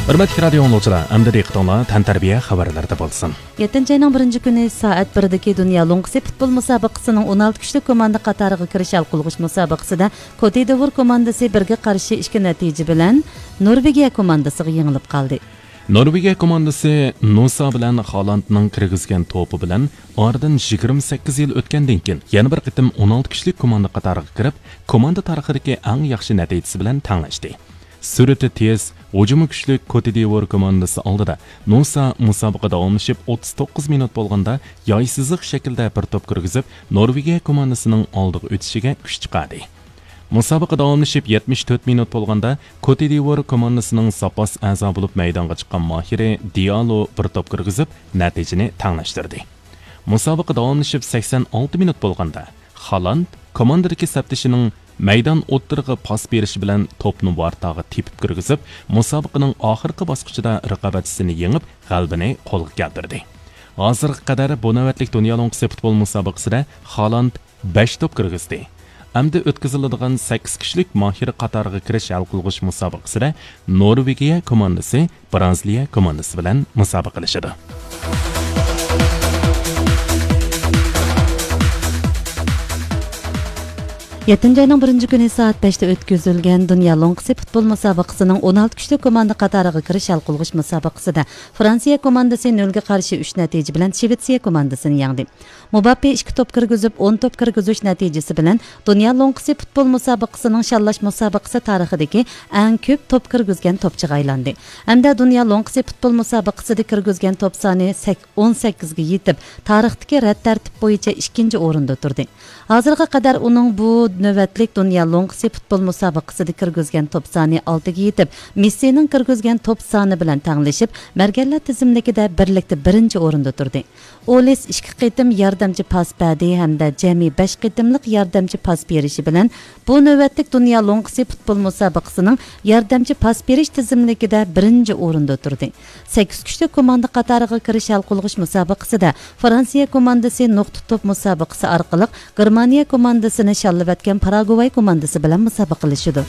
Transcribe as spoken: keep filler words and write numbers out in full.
ھۆرمەتلىك رادىئو ئاڭلىغۇچىلار، ئەمدى دىققىتىڭلار تەنتەربىيە خەۋەرلىرىدە بولسۇن. يەتتىنچى ئاينىڭ بىرىنچى كۈنى سائەت بىردىكى دۇنيا لوڭقىسى پۇتبول مۇسابىقىسىنىڭ ئون ئالتە كۈچلۈك كوماندا قاتارىغا كىرىش ھەل قىلغۇچ مۇسابىقىسىدە كوتىدىۋور كوماندىسى بىرگە قارشى ئىككى نەتىجە بىلەن نورۋېگىيە كوماندىسىغا يېڭىلىپ قالدى. نورۋېگىيە كوماندىسى نوسا بىلەن خالاندنىڭ كىرگۈزگەن توپى بىلەن ئارىدىن يىگىرمە سەككىز يىل ئۆتكەندىن كېيىن يەنە بىر قېتىم ئون ئالتە كۈچلۈك كوماندا قاتارىغا كىرىپ، كوماندا تارىخىدىكى ئەڭ ياخشى نەتىجىسى بىلەن تەڭلەشتى. سۈرئىتى تېز، ھۇجۇمى كۈچلۈك كوتىدىۋور كوماندىسى ئالدىدا نوسا مۇسابىقە داۋاملىشىپ ئوتتۇز توققۇز مىنۇت بولغاندا ياي سىزىق شەكلىدە بىر توپ كىرگۈزۈپ، نورۋېگىيە كوماندىسىنىڭ ئالدىغا ئۆتۈشىگە كۈچ چىقاردى. مۇسابىقە داۋاملىشىپ يەتمىش تۆت مىنۇت بولغاندا، كوتىدىۋور كوماندىسىنىڭ زاپاس ئەزا بولۇپ مەيدانغا چىققان ماھىرى دىئالو بىر توپ كىرگۈزۈپ، نەتىجىنى تەڭلەشتۈردى. مۇسابىقە داۋاملىشىپ سەكسەن ئالتە مىنۇت بولغاندا، خالاند كوماندىدىكى سەپدىشىنىڭ مەيدان ئوتتۇرىغا پاس بېرىشى بىلەن توپنى ۋارتاغا تېپىپ كىرگۈزۈپ، مۇسابىقىنىڭ ئاخىرقى باسقۇچىدا رىقابەتچىسىنى يېڭىپ، غەلىبىنى قولغا كەلتۈردى. ھازىرغا قەدەر بۇ نۆۋەتلىك دۇنيا لوڭقىسى پۇتبول مۇسابىقىسىدە خالاند بەش توپ كىرگۈزدى. ئەمدى ئۆتكۈزۈلىدىغان سەككىز كىشىلىك ماھىر قاتارىغا كىرىش ھەل قىلغۇچ مۇسابىقىسىدە نورۋېگىيە كوماندىسى برازىلىيە كوماندىسى بىلەن مۇسابىقىلىشىدۇ. يەتتىنچى ئاينىڭ بىرىنچى كۈنى سائەت بەشتە ئۆتكۈزۈلگەن دۇنيا لوڭقىسى پۇتبول مۇسابىقىسىنىڭ ئون ئالتە كۈچلۈك كوماندا قاتارىغا كىرىش ھەل قىلغۇچ مۇسابىقىسىدە فرانسىيە كوماندىسى نۆلگە قارشى ئۈچ نەتىجە بىلەن شىۋېتسىيە كوماندىسىنى يەڭدى. مۇباپپې ئىككى توپ كىرگۈزۈپ، ئون توپ كىرگۈزۈش نەتىجىسى بىلەن دۇنيا لوڭقىسى پۇتبول مۇسابىقىسىنىڭ شاللاش مۇسابىقىسى تارىخىدىكى ئەڭ كۆپ توپ كىرگۈزگەن توپچىغا ئايلاندى. ھەمدە دۇنيا لوڭقىسى پۇتبول مۇسابىقىسىدە كىرگۈزگەن توپ سانى سەك-، ئون سەككىزگە يېتىپ، تارىختىكى رەت تەرتىپ بويىچە ئىككىنچى ئورۇندا تۇردى. ھازىرغا قەدەر ئۇنىڭ بۇ نۆۋەتلىك دۇنيا لوڭقىسى پۇتبول مۇسابىقىسىدە كىرگۈزگەن توپ سانى ئالتىگە يېتىپ، مېسسىنىڭ كىرگۈزگەن توپ سانى بىلەن تەڭلىشىپ، مەرگەنلەر تىزىملىكىدە بىرلىكتە بىرىنچى ئورۇندا تۇردى. ئولىس ئىككى قېتىم ياردەمچى پاس بەردى ھەمدە جەمئىي بەش قېتىملىق ياردەمچى پاس بېرىشى بىلەن بۇ نۆۋەتلىك دۇنيا لوڭقىسى پۇتبول مۇسابىقىسىنىڭ ياردەمچى پاس بېرىش تىزىملىكىدە بىرىنچى ئورۇندا تۇردى. سەككىز كۈچلۈك كوماندا قاتارىغا كىرىش ھەل قىلغۇچ مۇسابىقىسىدە فرانسىيە كوماندىسى نۇقتا توپ مۇسابىقىسى ئارقىلىق گېرمانىيە كوماندىسىنى شاللىۋەتكەن پاراگۋاي كوماندىسى بىلەن مۇسابىقىلىشىدۇ.